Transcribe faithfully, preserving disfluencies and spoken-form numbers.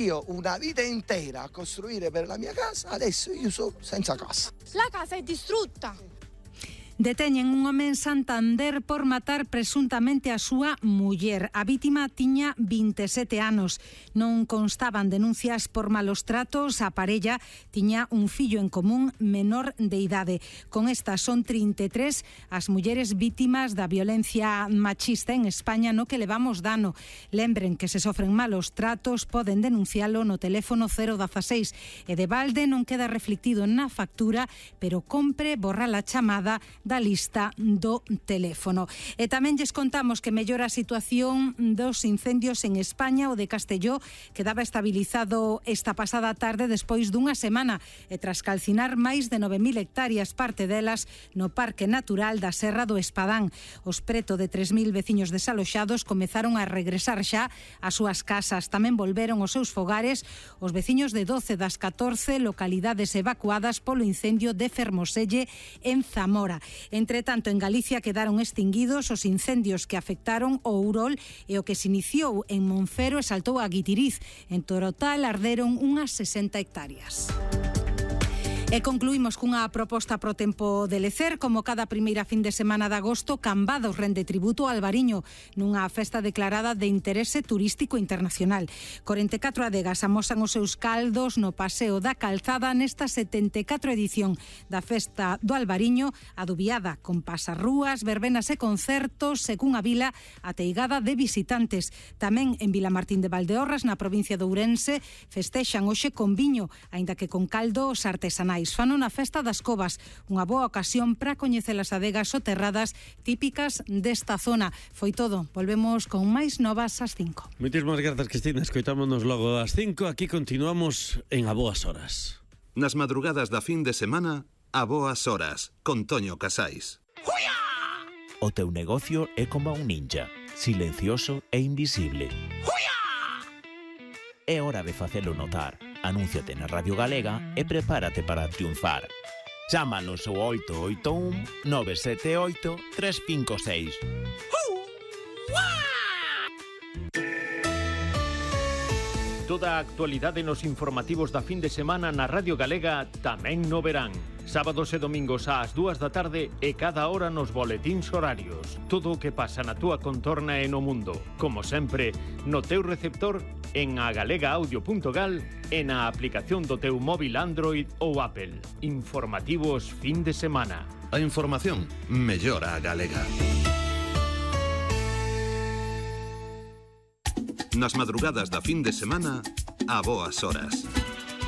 Io una vita intera a costruire per la mia casa, adesso io sono senza casa. La casa è distrutta. Deteñen un home en Santander por matar presuntamente a súa muller. A vítima tiña vinte e sete anos. Non constaban denuncias por malos tratos. A parella tiña un fillo en común menor de idade. Con estas son trinta e tres as mulleres vítimas da violencia machista en España no que levamos dano. Lembren que se sofren malos tratos poden denuncialo no teléfono cero dieciséis e de balde non queda reflectido na factura, pero compre borra a chamada da lista do teléfono. E tamén lles contamos que mellora a situación dos incendios en España. O de Castelló quedaba estabilizado esta pasada tarde despois dunha semana e tras calcinar máis de nove mil hectáreas, parte delas no Parque Natural da Serra do Espadán. Os preto de tres mil veciños desaloxados comezaron a regresar xa ás súas casas. Tamén volveron aos seus fogares os veciños de doce das catorce localidades evacuadas polo incendio de Fermoselle en Zamora. Entre tanto, en Galicia quedaron extinguidos os incendios que afectaron o Ourol e o que se iniciou en Monfero e saltou a Guitiriz. En total arderon unhas sesenta hectáreas. E concluímos cunha proposta pro tempo de lecer. Como cada primeira fin de semana de agosto, Cambados rende tributo ao Albariño nunha festa declarada de interese turístico internacional. corenta e catro adegas amosan os seus caldos no Paseo da Calzada nesta setenta e catro edición da festa do Albariño, adubiada con pasarrúas, verbenas e concertos, según a vila ateigada de visitantes. Tamén en Vilamartín de Valdeorras, na provincia de Ourense, festexan hoxe con viño, aínda que con caldos artesanais. Fan unha festa das covas, unha boa ocasión para coñecer as adegas soterradas típicas desta zona. Foi todo, volvemos con máis novas ás cinco. Moitísimas grazas, Cristina, escoitámonos logo ás cinco. Aquí continuamos en A Boas Horas. Nas madrugadas da fin de semana, A Boas Horas, con Toño Casais. O teu negocio é como un ninja, silencioso e invisible. É hora de facelo notar. Anúnciate na Radio Galega e prepárate para triunfar. Chámanos ao oito oito un nove sete oito tres cinco seis. Toda a actualidade nos informativos da fin de semana na Radio Galega tamén no verán. Sábados e domingos ás dúas da tarde e cada hora nos boletíns horarios. Todo o que pasa na túa contorna e no mundo. Como sempre, no teu receptor, en agalega-audio punto gal e na aplicación do teu móvil Android ou Apple. Informativos fin de semana. A información mellora a galega. Nas madrugadas da fin de semana, A Boas Horas.